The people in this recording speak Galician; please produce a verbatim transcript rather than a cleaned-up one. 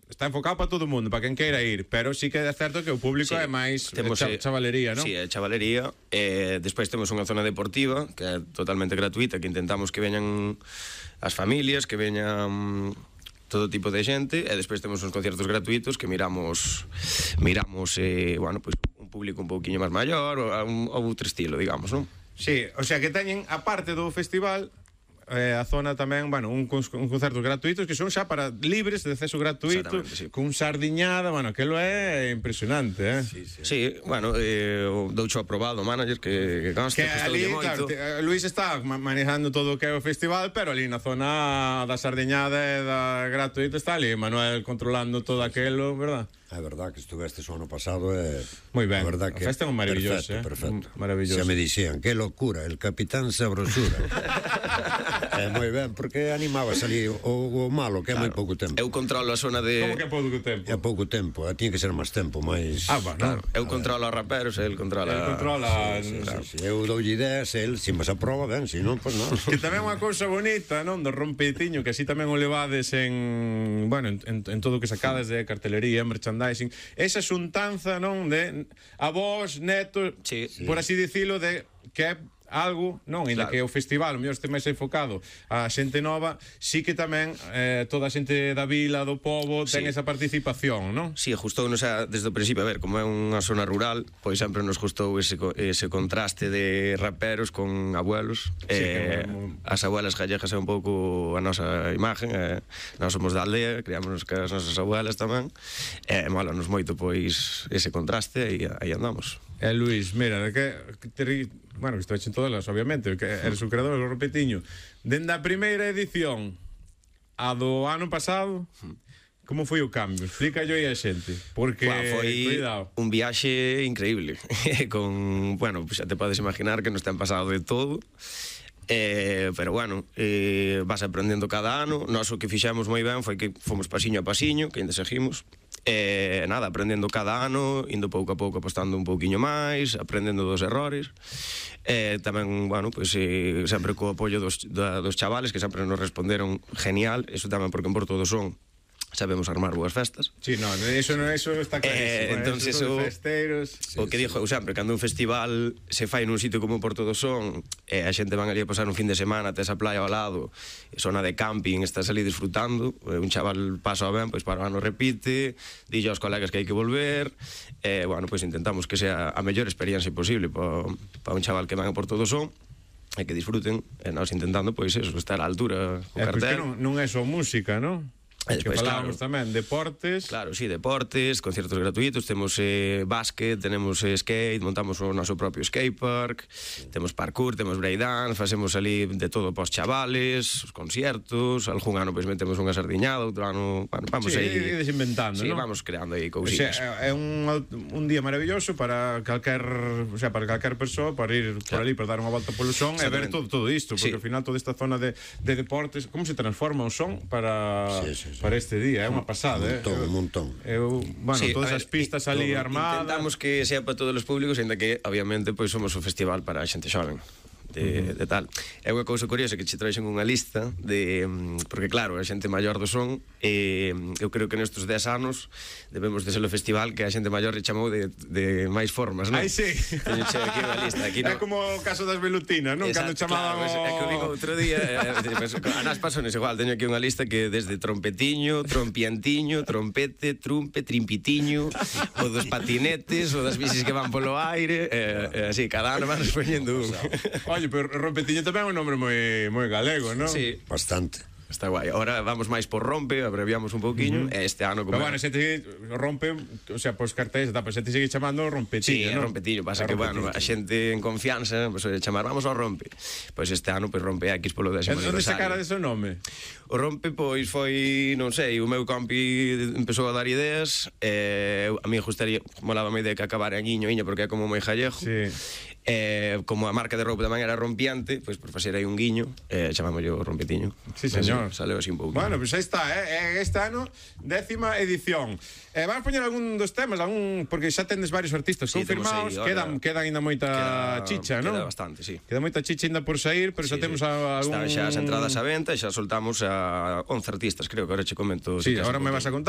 está enfocado para todo o mundo, para quen queira ir, pero sí que é certo que o público Sí, é máis temos, cha- eh, chavalería, non? Sí, é chavalería. Eh, despois temos unha zona deportiva que é totalmente gratuita, que intentamos que veñan as familias, que veñan todo tipo de xente, e despois temos uns conciertos gratuitos que miramos miramos eh, bueno, pues, un público un pouquiño máis maior ou, un, ou outro estilo, digamos, non? Sí, o sea que teñen, a parte do festival, eh, a zona tamén, bueno, un, un concertos gratuitos que son xa para libres de acceso gratuito, Sí. cun sardiñada, bueno, aquilo é impresionante, eh? Sí, sí. Sí, bueno, eh, o doucho aprobado o manager que, que consta, Que ali, claro, te, eh, Luis está ma- manejando todo o que é o festival, pero ali na zona da sardiñada e da gratuita está ali Manuel controlando todo aquelo, verdad? É verdad que estuveste o ano pasado e... Moi ben, a verdad a festa é un maravilloso, perfecto, eh? perfecto. Maravilloso. Xa me dixían, que locura, el capitán sabrosura. É moi ben, porque animaba a salir o, o malo, que é moi pouco tempo. Eu controlo a zona de... Como que é pouco tempo? É pouco tempo, eh, tiña que ser máis tempo, máis... Ah, bueno. Claro, eu controlo os raperos e el controla... El controla... Sí, sí, sí. Eu doulle ideas, el, se me se aproba, ben, se non, pois non. Que tamén é unha cousa bonita, non? Do rompetiño, que así tamén o levades en... Bueno, en, en, en todo o que sacades de cartelería, merchandising. Esa xuntanza, non? De avós, netos, Sí. por así dicilo, de que é algo, non, ainda Claro. que o festival o mellor este máis enfocado a xente nova, sí que tamén eh, toda a xente da vila, do pobo ten Sí. esa participación, non? Sí, gustounos a, desde o principio, a ver, como é unha zona rural, pois sempre nos gustou ese, co- ese contraste de raperos con abuelos. Sí, eh, que moi- as abuelas gallegas é un pouco a nosa imagen, eh, nós somos da aldea, criámonos que as nosas abuelas tamén, e eh, molanos moito pois ese contraste e aí andamos. E Luis, mira, que, que te, bueno, que estou en todas, obviamente, que eres o creador do rompetiño. Dende a primeira edición a do ano pasado, como foi o cambio? Explícallo aí a xente, porque Buah, foi cuidado. un viaxe increíble con, bueno, pues xa te podes imaginar que nos ten pasado de todo. Eh, pero bueno, eh, vas aprendendo cada ano. Nós o que fixemos moi ben foi que fomos pasiño a pasiño, que ainda seguimos. Eh, nada, aprendendo cada ano, indo pouco a pouco apostando un pouquiño máis, aprendendo dos errores. Eh, tamén, bueno, pues, eh, sempre co apoio dos, da, dos chavales que sempre nos responderon genial. Eso tamén porque en Porto do Son sabemos armar boas festas. Sí, no, eso, no, eso está clarísimo. Eh, entonces eso, o- festeiros. O que dixo eu sempre, cando un festival se fai nun sitio como Porto do Son, e a xente van ali a pasar un fin de semana, tes a playa ao lado, zona de camping, estás ali disfrutando, e un chaval pasa ben, pois para o ano repite, dille aos colegas que hai que volver, e, bueno, pois intentamos que sea a mellor experiencia posible para pa un chaval que van a Porto do Son, e que disfruten, e nós intentando, pois, eso, estar á altura co É, porque cartel. non, non é só música, non? E Que despois, falábamos claro. tamén, deportes. Claro, sí, deportes, conciertos gratuitos, temos eh, básquet, tenemos eh, skate, montamos o noso propio skatepark, temos parkour, temos breakdance, facemos ali de todo pos chavales, os conciertos, algún ano pois metemos unha sardiñada, outro ano, bueno, vamos Sí, aí. ides inventando, Sí, ¿no? vamos creando aí O sea, cousiñas. é un, un día maravilloso para calquer, o sea, para calquer persoa para ir por Claro. ali, para dar unha volta polo son e ver Exactamente. todo, todo isto, porque Sí. ao final toda esta zona de, de deportes, como se transforma o son para, Sí, sí, sí. para este día, é unha pasada, Un montón, eh? un montón. Eu, bueno, Sí, todas a as ver, pistas ali todo. armadas. Intentamos que sea para todos os públicos, ainda que, obviamente, pois somos un festival para a xente xoven. De, de tal. É unha cousa curiosa que che traixen unha lista de, mm, porque claro, a xente maior do son, eh, eu creo que nestes dez anos debemos de ser o festival que a xente maior le chamou de, de máis formas, non? Ai, sí. Teño che aquí unha lista, aquí É no. como o caso das velutinas, non? Cando Exacto, chamaban claro, é que o digo outro día, eh, pues, a nas pasones igual, teño aquí unha lista que desde trompetiño, trompiantiño, trompete, trumpe, trimpitiño, o dos patinetes, o das bicis que van polo aire, eh, eh, así, cada ano van poñendo un. Oye, pero rompetiño tamén é un nombre moi moi galego, non? Sí, Bastante. está guai. Ahora vamos máis por rompe, abreviamos un pouquiño, e este ano como Pero bueno, xente rompe, o sea, pois cartéis, tá, pero xente sigue chamando Sí, rompetiño, é non? rompetiño, pasa É que, bueno, rompetiño. a xente en confianza, pues, oye, chamar, vamos ao rompe. Pois este ano, pois, rompe X polo décimo Onde sacara aniversario. dese nome? O rompe, pois, foi, non sei, o meu compi empezou a dar ideas, e a mí gustaría, molaba a idea que acabara en Iño, Iño, porque é como moi jallejo. Sí. Eh, como a marca de roupa tamén era rompiante, pois por facer aí un guiño, eh, chamámoslle o rompetiño. Sí, señor. Saleu así un pouco. Bueno, pois pues aí está, eh? Este ano, décima edición. Eh, vamos poñer algún dos temas, algún, porque xa tendes varios artistas Sí, confirmados, temos aí, quedan, ahora- queda ainda moita Queda- chicha, non? Queda bastante, sí. Queda moita chicha ainda por sair, pero xa Sí, temos sí. a, algún... Están xa as entradas á venta e xa soltamos a once artistas, creo que ahora che comento. Sí, se queres ahora un me vas a pouquinho. contar.